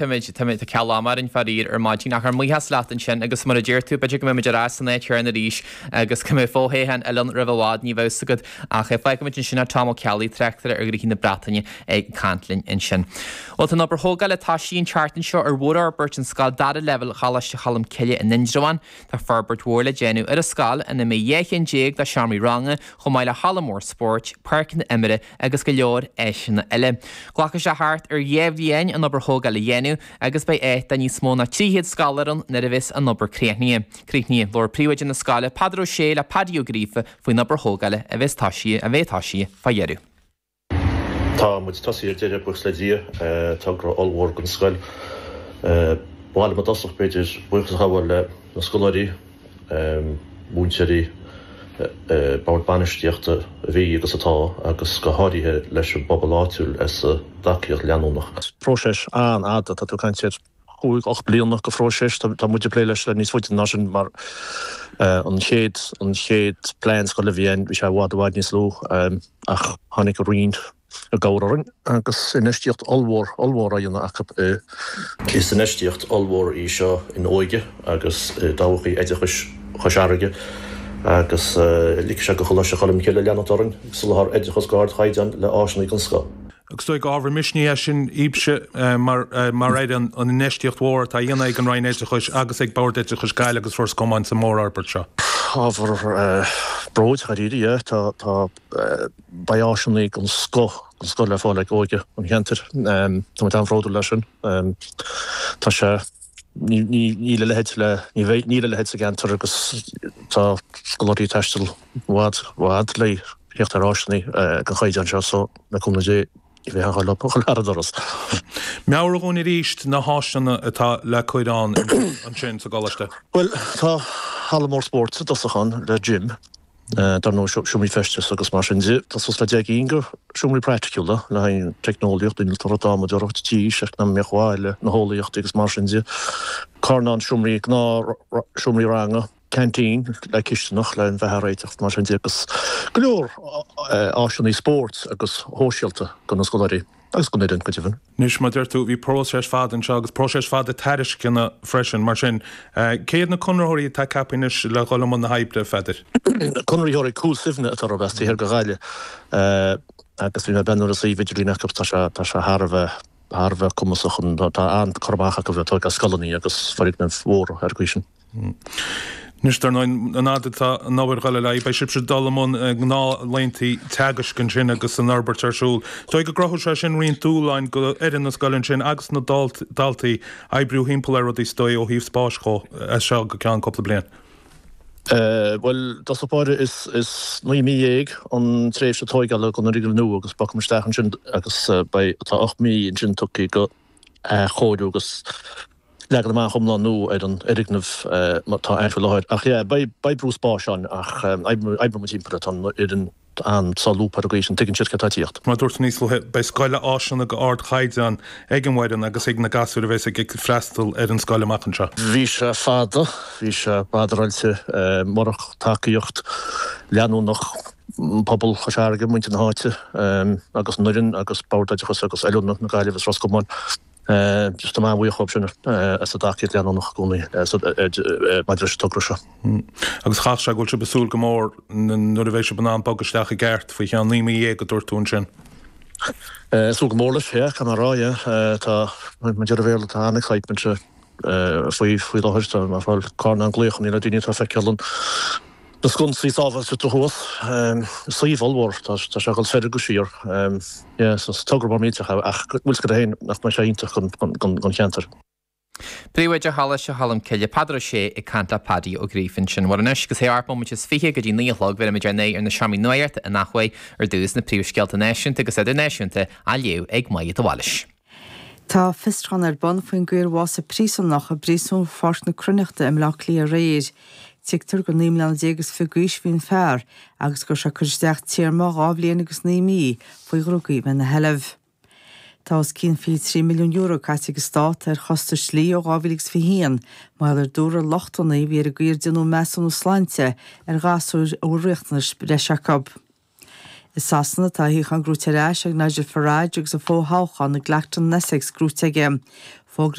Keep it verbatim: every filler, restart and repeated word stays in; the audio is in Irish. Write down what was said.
Táimid, táimid, tá ceal ama orainn faraor ar maidin ach ár mbuíochas leat ansin agus mar a deir tú, b'fhéidir go mbeimid ar ais san áit chéanna arís agus go mbeidh fothoghchán eile ann roimh i bhfad, ní bheidh fhios agat ach fágfaimid ansin é Tom Ó Ceallaigh, tráchtaire ar ghnoithí na Breataine ag caint linn ansin. Bhuel tá an obair thógála tosaithe an tseachtain seo ar mhórfhorbairt an scoil dara leibhéal Choláiste Cholm Cille in Indreabhán. Tá forbairt mhór le déanamh ar an scoil ina mbeidh dhá cheann déag de sheomraí ranga chomh maith le halla mór spóirt, páirceanna imeartha agus go leor áiseanna eile. Glacfaidh sé thart ar dhá bhliain an obair thógála a dhéanamh agus beidh áit do níos mó ná trí chéad scoláire ann nuair a bheas an obair críochnaithe. Críochnaithe. Labhair príomhoide na scoile, Peadar Ó Sé le Paddy Ó Gríofa faoin obair thógála a bheas tosaithe a bheidh tosaithe fá dheireadh. Tá muid tosaithe ar deireadh, buíochas le Dia. Togra ollmhór don scoil. Ba mhaith liom i dtosach, b'fhéidir, buíochas a ghabháil le na scoláirí, múinteoirí, bord bainistíochta a bhí agus atá agus go háirithe leis an bpobal áitiúil as a dtacaíocht leanúnach. Próiseas an-fhada, tá tú ag caint ar chúig, ocht bliana de phróiseas, tá muid ag plé leis le níos faide ná sin mar an chéad, an chéad plean scoile a bhí ann, bhí sé i bhfad, i bhfad níos lú ach tháinig an Roinn i gcabhair orainn agus infheistíocht ollmhór, ollmhór á dhéanamh acu i. Is infheistíocht ollmhór í seo in óige agus i dtodhchaí oideachais Chois Fharraige agus ligfidh sé do Choláiste Cholmcille leanacht orainn ag soláthar oideachas d'ardchaighdeán le áiseanna den scoth. Agus is dóigh gur ábhar misnigh é sin daoibhse mar fhoireann, an infheistíocht mhór atá á dhéanamh ag an Roinn Oideachais agus ag Bord Oideachais Gaillimh agus Ros Comáin sa mhórfhorbairt seo. Ábhar bróid, dháiríre, yeah. Tá, tá, beidh áiseanna den scoth, den scoth le fáil ag óige an cheantair. Tá muid an-bhródúil as sin. Tá sé, ní, ní, níl a leithéid le, ní bheidh, níl a leithéid sa gceantar agus tá scoláirí ag taisteal i bhfad, i bhfad le theacht ar áiseanna den chaighdeán seo so le cúnamh Dé ní bheidh aon ghá leo a dhul thar an doras. Meabhraigh dhúinn arís na háiseanna atá le cur ann ansin sa gcoláiste. Bhuel, tá halla mór spóirt i dtosach ann le gym, dar ndóigh seomraí feistis agus mar sin de. Tá suas le deich gcinn de sheomraí praiticiúla le haghaidh teicneolaíocht, innealtóireacht, adhmadóireacht, tís, eacnamaíocht bhaile, na heolaíochtaí agus mar sin de. Carnán seomraí, gnáth seomraí ranga. Canteen le cisteanach le an bheatha a réiteach mar sin de agus go leor áiseanna spóirt agus shóisialta do na scoláirí agus don fhoireann go deimhin. Anois, mar a deir tú, bhí próiseas fada anseo agus próiseas fada tairisceana freisin. Mar sin, cé hiad na conraitheoirí atá ceaptha anois le dhul i mbun na hoibre, a Pheadair? Conraitheoirí Cúil Suibhne atá orthu as taobh thiar de Ghaillimh agus bhí mé ag breathnú ar an suíomh idirlín acu, tá sé tá sé thar a bheith thar a bheith cumasach, tá an-cur amach acu ar tógáil scoileanna agus foirgnimh mhóra ar an gcaoi sin. Anois, dar ndóigh, an fhad atá an obair ag dul ar aghaidh, beidh sibhse ag dul i mbun gnáthlaethanta teagaisc ansin agus an fhorbairt ar siúl. Is dóigh go gcruthóidh sé sin roinnt dúshláin do fhoireann na scoile ansin agus na daltaí oibriú thimpeall ar rudaí is dóigh ó thaobh spáis dhó as seo go ceann cúpla bliain. Bhuel, i dtosach báire, is naoi mí dhéag an tréimhse tóigeála don fhoirgneamh nua agus bogfaimid isteach ansin agus beidh, tá ocht mí ansin tugtha do athchóiriú agus leagan amach iomlán nua ar an fhoirgneamh atá ann faoi láthair. Ach yeah, beidh, beidh brú spáis ann ach oibreoidh muid timpeall air. Tá an fhoireann an-solúbtha ar an gcaoi sin, tuigeann siad céard atá ag tíocht. Mar a dúirt tú níos luaithe, beidh scoil le áiseanna d'ardchaighdeán ag an bhfoireann agus ag na gasúir a bheas ag freastal ar an scoil amach anseo. Bhí sé fada, bhí sé badaráilte, murach tacaíocht leanúnach pobal Chois Fharraige, muintir na háite agus an fhoireann agus Bord Oideachais agus Oiliúna na Gaillimhe is Ros Comáin. Just tá mé an-bhuíoch dhóibh sin as a dtacaíocht leanúnach i gcónaí maidir leis an togra seo. Agus chaithfeadh sé go bhfuil sibh ag súil go mór nuair a bheidh sibh in ann bogadh isteach i gceart faoi cheann naoi mí dhéag a dúirt tú ansin. Ag súil go mór leis, yeah, caithfidh mé a rá, yeah. Tá, mar a deir an Béarla, tá an-excitement faoi faoi láthair. Tá mé ag fáil carnán glaochanna le daoine atá ag feiceáil an Na sconsaí sábháilteachta thuas, suíomh ollmhór, tá sé ag dul soir agus siar. Yeah, so is togra mór millteach é ach bhfuil 's agat féin nach mbeidh sé iontach don cheantar. Príomhoide Choláiste Cholm Cille, Peadar Ó Sé ag caint le Paddy Ó Gríofa ansin. Bhuel anois, agus é ocht mbomaite is fiche go dtí naoi a chlog, bhéarfaimid ár n-aghaidh ar na seomraí nuachta in athuair ar dtús na príomhscéalta náisiúnta agus idirnáisiúnta á léamh ag Máire de Bhailís. Tá fiosrúchán ar bun faoin gcaoi ar bhásaigh príosúnach i bpríosún Pháirc na Cruithneachta i mBaile Átha Cliath aréir. Tuigtear gur naoi mbliana déag is fiche d'aois a bhí an fear agus go raibh sé ag cur isteach téarma dhá bhliain agus naoi mí faoi dhrugaí a bheith ina sheilbh. Tá os cionn fiche trí milliún euro caite ag an Stát ar chostais dlí ó dhá mhíle agus fiche haon mar gheall ar dúradh lochtanna a bhí ar an gcaoi ar déanadh measúnú sláinte ar ghasúir a bhfuil riachtanais breise acu. I Sasana tá a shuíochán gnóite ar ais ag Nigel Farage agus a fho-thoghchán i gClapton in Essex gnóite aige. Fógraíodh